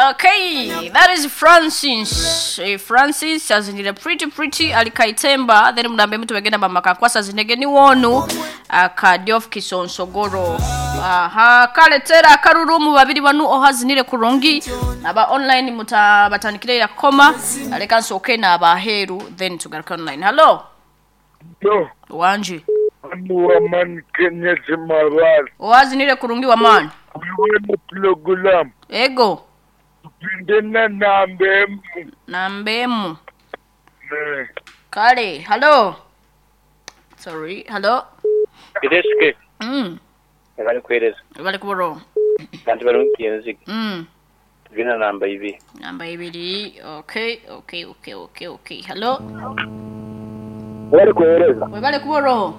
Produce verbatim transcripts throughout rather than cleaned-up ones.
Okay, that is Francis. Eh, Francis azinira pretty pretty alikaitemba then munambe mtu wegenda mama kakwasa zinege ni wonu akadiof kisonsogoro. Aha, kaletera akarurumu babiri banu ohazinire kurungi aba online muta batanikire ya koma aleka nsoke na abaheru then tugaruka online. Hello. Yo, Wanje. anu waman Kenya Zimarwal. Ohazinire kurungi wa man. Wiwene program. Ego. Ndena nambe emu. Nambemu. Eh, Kale, hello. Sorry, hello. Kireske Mm. bali kuhereza Bali kuboro. kandi barungi enzige Mm. tugenda namba ibiri Namba ibiri. Okay, okay, okay, okay, okay. Hello. Bari kuhereza Webale kuboro.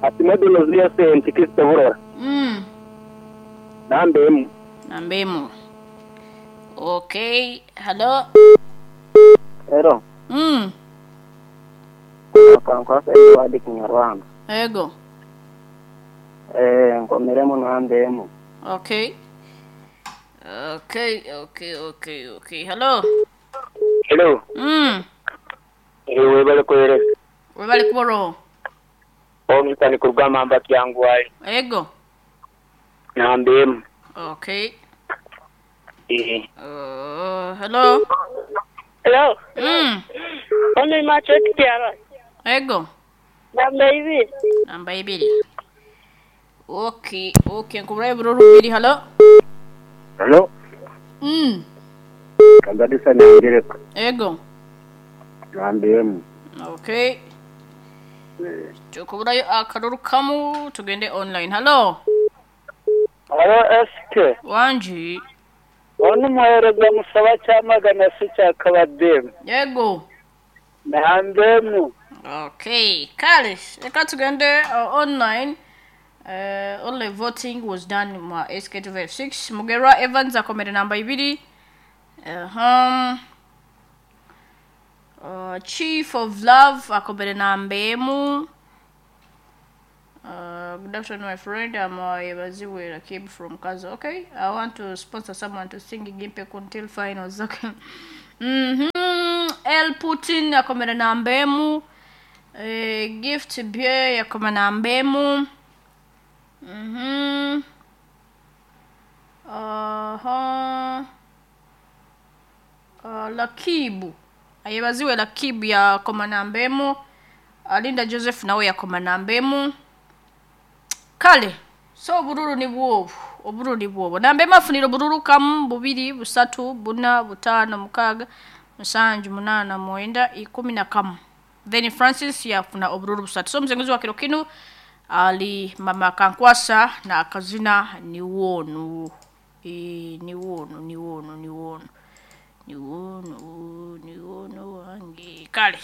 ati modulo ziya senti Kristo burora Mm. namba emu Nambemu. Okay, hello. rero Mm. kankwasa Edward Kinyarwanda Ego. eh nkomeremo namba emu Okay. Okay, okay, okay, okay. Hello. hello Mm. ewe bari kuhereza Webale kuboro. omutani kurugamba mba kyangwaye Ego. namba emu Okay. eh Uh, hello. Hello. Mm. Ono macho kiara. Ego. Namba ibiri. Namba ibiri. Okay, okay. Nkubura bururu bibiri. Hello. hello Mm. kanzadisa nyangereka Ego. namba emu Okay. Tukuburayo akaruru kamu tugende online. Hello. Hello S K. Wanji. Ono muhereza musaba cyamagana se cyakabademu. Yego. Namba emu. Okay. Kale, reka tugende uh, online. Uh, only voting was done mu S K two five six. Mugerwa Evans akomere namba ibiri. Uh-huh. Uh, Chief of Love akomere namba emu. Uh, good afternoon, my friend. I'm uh, Yebaziwe Rakib from Kazo. Okay, I want to sponsor someone to sing Gimpe until finals. Okay. Mm-hmm. El Putin akomere namba emu. Eh, Gift Beer akomere namba emu. Mm-hmm. Uh-huh. Uh, Lakibu. Ayebaziwe Lakibu yakoma namba emu. Alinda Joseph nawe yakoma namba emu. Kale, so obururu ni bwobu, obururu ni bwobu. Namba emu afunira obururu kamu, bubiri, busatu, buna, butaano, mukaaga, musanju, munaana, mwenda, ikumi na kamu. Then Francis yafuna obururu busatu. So muzenguzi wa kiro kinu ali mama Kankwasa na akazina ni wonu. E, ni wonu, ni wonu, ni wonu. Ni wonu, ni wonu wange. Kale.